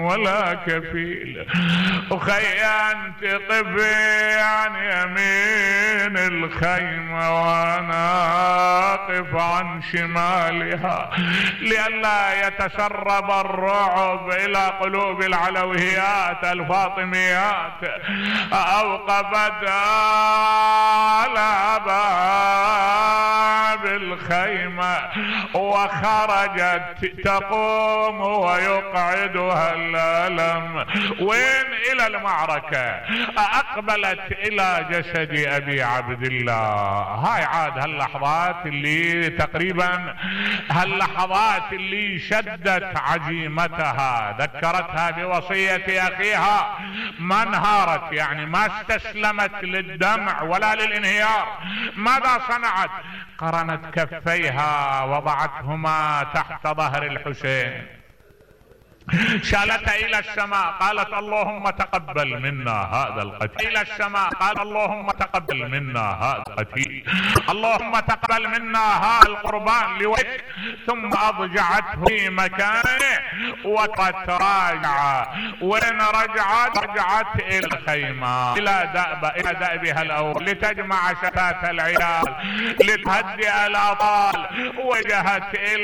ولا كفيل. وخي انت طفي عن يمين الخيمة وانا اقف عن شمالها لئلا يتسرب الرعب الى قلوب العلويات الفاطميات. اوقفت على باب الخيمة وخرجت تقوم ويقعدها الألم. وين؟ إلى المعركة. أقبلت إلى جسد أبي عبد الله. هاي عاد هاللحظات اللي تقريبا هاللحظات اللي شدت عزيمتها، ذكرتها بوصية أخيها، ما انهارت، يعني ما استسلمت للدمع ولا للانهيار. ماذا صنعت؟ قرنت كفيها وضعتهما تحت ظهر الحسين، شالتها الى السماء، قالت اللهم تقبل منا هذا القتيل. الى السماء قال اللهم تقبل منا هذا القتيل، اللهم تقبل منا هذا القربان لوجهك. ثم اضجعته في مكانه وتراجع. وين رجعت؟ رجعت الى الخيمة، الى دأبها الاول، لتجمع شتات العيال، لتهدئ الاطفال. وجهت الى